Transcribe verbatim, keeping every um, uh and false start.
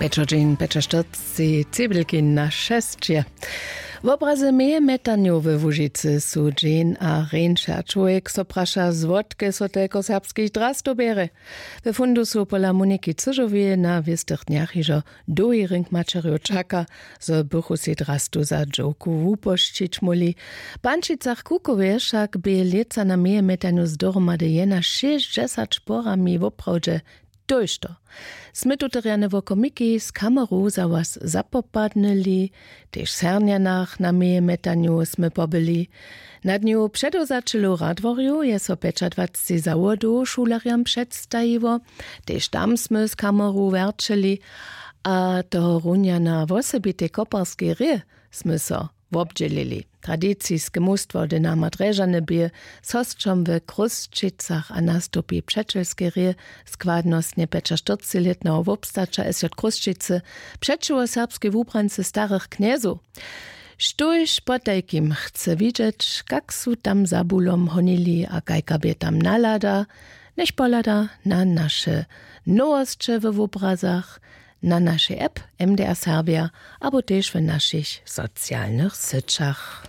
Pječodźeń pječaštyrcci cebelkin na šesće. Wobrazy mejemjetanjow we łužicy su dźeń a rjeńše a čłowjek so praša, zwotke so telko serbskich drastow bjerje. We fundusu pola moniki cyžoweje na wěstych dnjach hižo dołhi rink maćerjow čaka, zo bychu sej drastu za dźowku wupošćić móhli. W pančicach kukoweje wšak bě lětsa na mejemjetanju zdohromady jena šěsćdźesat šporami woprawdźe tójšto. Smy tute rjane wokomiki z kameru za was zapopadnyli. Tež w sernjanach na mejemjetanju smy pobyli. Na dnju předewzaćelow w radworju je so pjećadwacci zawodow šulerjam předstajiło. Tež tam smy z kameru wjerćeli. A tohorunja na wosebitej koparskej rě smy so wobdźělili. Tradiciske mustwo dynama drježany bě z hosćom w chrósćicach a nastupi přećelskej rě. Składnostnje pjećaštyrcciletneho wobstaća sj chrósćicy přećiwo serbskej wubrance starych knjezow. Štóž potajkim chce widźeć, kak su tam za bulom honili a kajka bě tam nalada, njech pohlada na naše nowosće we wobrazach, na našej app mdr serbja abo tež w našich socialnych syćach.